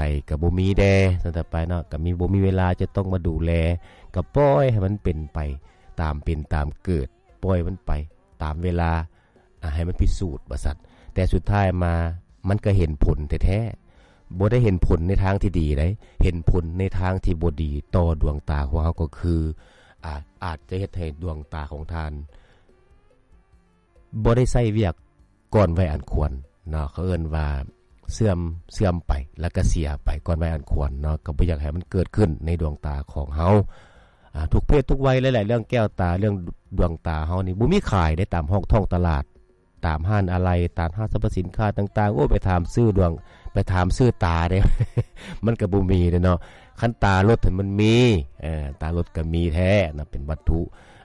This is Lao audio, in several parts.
ໄປກໍບໍ່ມີແດ່ ຊັ້ນໄປເນາະ ກໍມີ ບໍ່ມີເວລາຈະຕ້ອງມາດູແລ ກໍປ່ອຍໃຫ້ມັນເປັນໄປຕາມເປັນຕາມເກີດ ປ່ອຍມັນໄປຕາມເວລາ ອາ ໃຫ້ມັນພິສູດວ່າຊັ້ນ. ແຕ່ສຸດທ້າຍມາມັນກໍເຫັນຜົນແທ້ໆ ບໍ່ໄດ້ເຫັນຜົນໃນທາງທີ່ດີໃດ ເຫັນຜົນໃນທາງທີ່ບໍ່ດີຕໍ່ດວງຕາຂອງເຮົາ ກໍຄື ອາ ອາດຈະເຮັດໃຫ້ດວງຕາຂອງທ່ານ ບໍ່ໄດ້ໃຊ້ວຽກກ່ອນໄວອັນຄວນເນາະ ເຂົາເອີ້ນວ່າເສື່ອມ ເສື່ອມໄປ ແລ້ວກໍເສຍໄປກ່ອນໄວອັນຄວນເນາະ ກໍບໍ່ຢາກໃຫ້ມັນເກີດຂຶ້ນໃນດວງຕາຂອງເຮົາ ອາ ທຸກເພດທຸກໄວເລີຍແຫຼະ ເລື່ອງແກ້ວຕາ ເລື່ອງດວງຕາເຮົານີ້ ບໍ່ມີຂາຍເດ້ ຕາມຫ້ອງທ້ອງຕະຫຼາດ ຕາມຮ້ານອາໄຫຼ່ ຕາມຫ້າງສັບພະສິນຄ້າຕ່າງໆ ໂອ້ ໄປຖາມຊື້ດວງ ໄປຖາມຊື້ຕາເດ້ ມັນກໍບໍ່ມີເດ້ເນາະ ຄັນຕາລົດຫັ້ນມັນມີ ເອີ ຕາລົດກໍມີແທ້ນະ ເປັນວັດຖຸ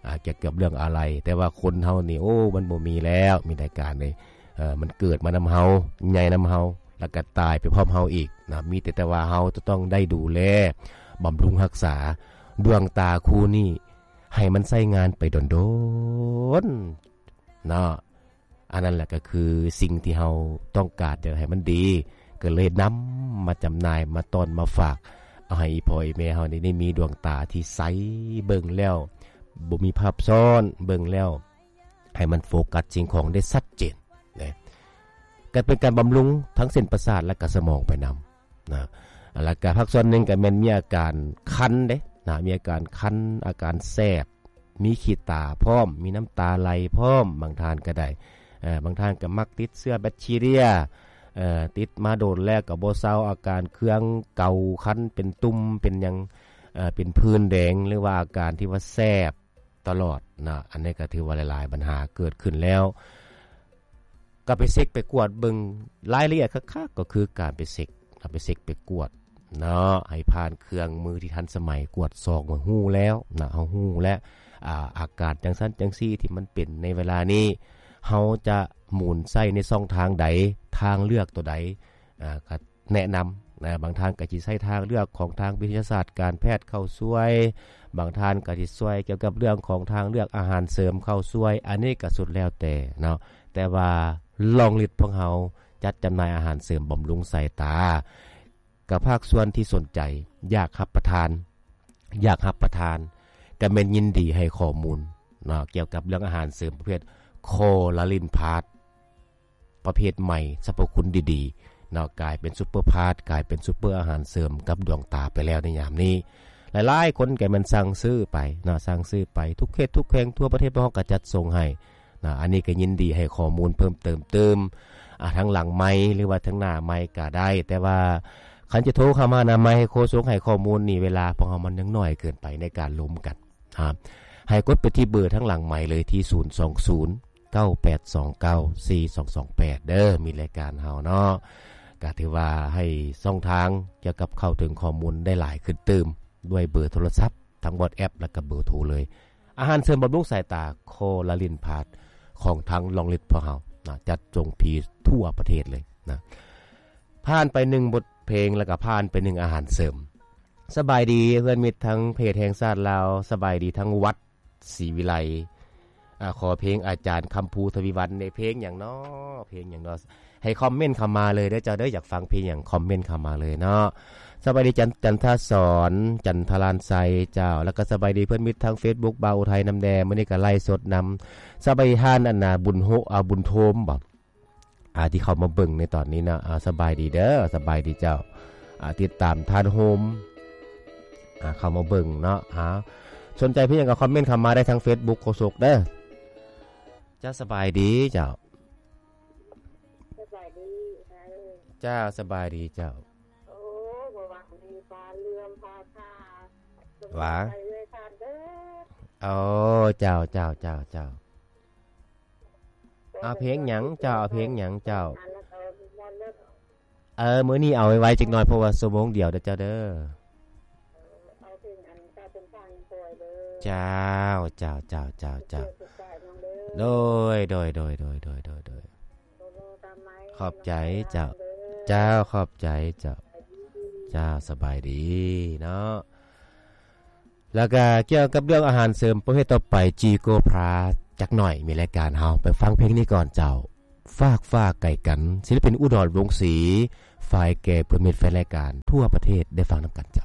ອ່າ ກ່ຽວກັບເລື່ອງອາໄຫຼ່ ແຕ່ວ່າຄົນເຮົານີ້ ໂອ້ ມັນບໍ່ມີແລ້ວ ມີແຕ່ການນີ້ ເອີ ມັນເກີດມານຳເຮົາ ໃຫຍ່ນຳເຮົາ ແລ້ວກໍຕາຍໄປພ້ອມເຮົາອີກນະ ມີແຕ່ ແຕ່ວ່າເຮົາຈະຕ້ອງໄດ້ດູແລ ບຳລຸງຮັກສາ ດວງຕາຄູ່ນີ້ ໃຫ້ມັນໃຊ້ງານໄປດົນໆ ເນາະ ອັນນັ້ນແຫຼະກໍຄືສິ່ງທີ່ເຮົາຕ້ອງການຢາກໃຫ້ມັນດີ ກໍເລີຍນຳມາຈຳໜ່າຍ ມາຕ້ອນ ມາຝາກ ເອົາໃຫ້ອີ່ພໍ່ອີ່ແມ່ເຮົານີ້ໄດ້ມີດວງຕາທີ່ໃສ ເບິ່ງແລ້ວບໍ່ມີພາບຊ້ອນ ເບິ່ງແລ້ວໃຫ້ມັນໂຟກັສສິ່ງຂອງໄດ້ຊັດເຈນນະ ກໍເປັນການບຳລຸງທັງເສັ້ນປະສາດ ແລະ ກະສະໝອງໄປນຳ ນະ ແລ້ວກະພາກສ່ວນໜຶ່ງກະແມ່ນມີອາການຄັນເດ້ນະ ມີອາການຄັນ ອາການແສບ ມີຂີ້ຕາພ້ອມ ມີນ້ຳຕາໄຫຼພ້ອມ ບາງທ່ານກະໄດ້ ເອີ ບາງທ່ານກະມັກຕິດເຊື້ອແບັກທີເຣຍ ເອີ ຕິດມາດົນແລ້ວກະບໍ່ເຊົາ ອາການເຄືອງ ເກົາ ຄັນ ເປັນຕຸ່ມ ເປັນຫຍັງ ເອີ ເປັນຜື່ນແດງ ຫຼືວ່າອາການທີ່ວ່າແສບ ຕະຫຼອດນະ ອັນນີ້ກໍຖືວ່າຫຼາຍໆບັນຫາເກີດຂຶ້ນແລ້ວ ກໍໄປເຊັກໄປກວດເບິ່ງລາຍລະອຽດຄັກໆ ກໍຄືການໄປເຊັກ ເອົາໄປເຊັກໄປກວດເນາະ ໃຫ້ຜ່ານເຄື່ອງມືທີ່ທັນສະໄໝ ກວດຊອກວ່າຮູ້ແລ້ວນະ ເຮົາຮູ້ແລ້ວ ອາ ອາການຈັ່ງຊັ້ນຈັ່ງຊີ້ທີ່ມັນເປັນໃນເວລານີ້ ເຮົາຈະໝູນໃຊ້ໃນຊ່ອງທາງໃດ ທາງເລືອກຕົວໃດ ອາ ກໍ ແນະນຳນະ ບາງທ່ານກໍຊິໃຊ້ທາງເລືອກຂອງທາງວິທະຍາສາດການແພດເຂົ້າຊ່ວຍ ບາງທ່ານກໍຊິຊ່ວຍກ່ຽວກັບເລື່ອງຂອງທາງເລືອກອາຫານເສີມເຂົ້າຊ່ວຍ ອັນນີ້ກໍສຸດແລ້ວແຕ່ເນາະ ແຕ່ວ່າລອງລິດພວກເຮົາຈັດຈຳໜ່າຍອາຫານເສີມບຳລຸງສາຍຕາ ກັບພາກສ່ວນທີ່ສົນໃຈ ຢາກຮັບປະທານ ຢາກຮັບປະທານ ກໍແມ່ນຍິນດີໃຫ້ຂໍ້ມູນເນາະ ກ່ຽວກັບເລື່ອງອາຫານເສີມປະເພດຄໍລາລິນພາດ ປະເພດໃໝ່ ສັບພະຄຸນດີໆເນາະ ກາຍເປັນຊຸບເປີພາດ ກາຍເປັນຊຸບເປີອາຫານເສີມກັບດວງຕາໄປແລ້ວໃນຍາມນີ້ ຫຼາຍໆຄົນກໍແມ່ນສັ່ງຊື້ໄປເນາະ ສັ່ງຊື້ໄປ ທຸກເຂດທຸກແຂວງທົ່ວປະເທດພວກເຮົາກໍຈັດສົ່ງໃຫ້ນະ ອັນນີ້ກໍຍິນດີໃຫ້ຂໍ້ມູນເພີ່ມເຕີມຕື່ມ ອາ ທາງຫຼັງໄມ ຫຼືວ່າທາງໜ້າໄມກໍໄດ້ ແຕ່ວ່າຄັນຈະໂທເຂົ້າມານະ ໄມໂຄສົກໃຫ້ຂໍ້ມູນນີ້ ເວລາພວກເຮົາມັນຍັງໜ້ອຍເກີນໄປໃນການລົມກັນ ອ່າ ໃຫ້ກົດໄປທີ່ເບີທາງຫຼັງໄມເລີຍ ທີ່ ສູນສອງສູນ ເກົ້າແປດສອງເກົ້າ ສີ່ສອງສອງແປດ ເດີ ມີລາຍການເຮົາເນາະ ກະຖືວ່າໃຫ້ຊ່ອງທາງກ່ຽວກັບເຂົ້າເຖິງຂໍ້ມູນໄດ້ຫຼາຍຂຶ້ນຕື່ມ ດ້ວຍເບີໂທລະສັບ ທັງ WhatsApp ແລ້ວກະເບີໂທເລີຍ ອາຫານເສີມບຳລຸງສາຍຕາ ຄໍລາລິນພາດ ຂອງທາງລອງລິດພວກເຮົານະ ຈັດສົ່ງຟຣີທົ່ວປະເທດເລີຍນະ ຜ່ານໄປໜຶ່ງບົດເພງ ແລ້ວກະຜ່ານໄປໜຶ່ງອາຫານເສີມ ສະບາຍດີເພື່ອນມິດທັງເພຈແຫ່ງຊາດລາວ ສະບາຍດີທັງວັດສີວິໄລ ອາ ຂໍເພງອາຈານຄຳພູ ທະວີວັນ ເພງຫຍັງເນາະ ເພງຫຍັງເນາະ ໃຫ້ຄອມເມັນເຂົ້າມາເລີຍເດີເຈົ້າເດີ ຢາກຟັງເພງຫຍັງຄອມເມັນເຂົ້າມາເລີຍເນາະ ສະບາຍດີຈັນ ຈັນທະສອນ ຈັນທະລານໄຊເຈົ້າ ແລ້ວກໍສະບາຍດີເພື່ອນມິດທາງເຟສບຸກ ບ່າວອຸໄທນຳແດ່ ມື້ນີ້ກໍໄລສົດນຳ ສະບາຍດີທ່ານ ອັນນ່າ ບຸນໂຮ ອາ ບຸນໂທມບໍ ອາ ທີ່ເຂົ້າມາເບິ່ງໃນຕອນນີ້ເນາະ ອາ ສະບາຍດີເດີ ສະບາຍດີເຈົ້າ ອາ ຕິດຕາມທ່ານໂຮມ ອາ ເຂົ້າມາເບິ່ງເນາະ ອາ ສົນໃຈເພງຫຍັງກໍຄອມເມັນເຂົ້າມາໄດ້ທາງເຟສບຸກໂຄສົກເດີ ເຈົ້າ ສະບາຍດີເຈົ້າ ສະບາຍດີ ເຈົ້າ ສະບາຍດີເຈົ້າ ໂອ້ ບໍ່ຫວັງດີ ຟ້າເຫຼື້ອມ ຟ້າຜ່າ ວ່າ ໃສ່ເລີຍທ່ານເດີ ໂອ້ ເຈົ້າ ເຈົ້າ ເຈົ້າ ເຈົ້າ ເອົາເພງຫຍັງເຈົ້າ ເອົາເພງຫຍັງເຈົ້າ ເອີ ມື້ນີ້ເອົາໄວໆຈັກໜ່ອຍ ເພາະວ່າຊົ່ວໂມງດຽວເດີເຈົ້າເດີ ເອີ ເອົາເພງອັນເຈົ້າເປັນທາງຊ່ອຍເດີ ເຈົ້າ ເຈົ້າ ເຈົ້າ ເຈົ້າ ເຈົ້າ ໂດຍ ໂດຍ ໂດຍ ໂດຍ ໂດຍ ໂດຍ ໂດຍ ໂດຍ ຂອບໃຈເຈົ້າ ເຈົ້າ ຂອບໃຈເຈົ້າ ເຈົ້າ ສະບາຍດີເນາະ ແລ້ວກະກ່ຽວກັບເລື່ອງອາຫານເສີມປະເພດຕໍ່ໄປ ຈີໂກພລາສ ຈັກໜ່ອຍ ມີລາຍການເຮົາ ໄປຟັງເພງນີ້ກ່ອນເຈົ້າ ຟາກຟ້າໄກກັນ ສິລະປິນ ອຸດອນ ວົງສີ ຝາກແກ່ເພື່ອນມິດແຟນລາຍການທົ່ວປະເທດໄດ້ຟັງນຳກັນເຈົ້າ.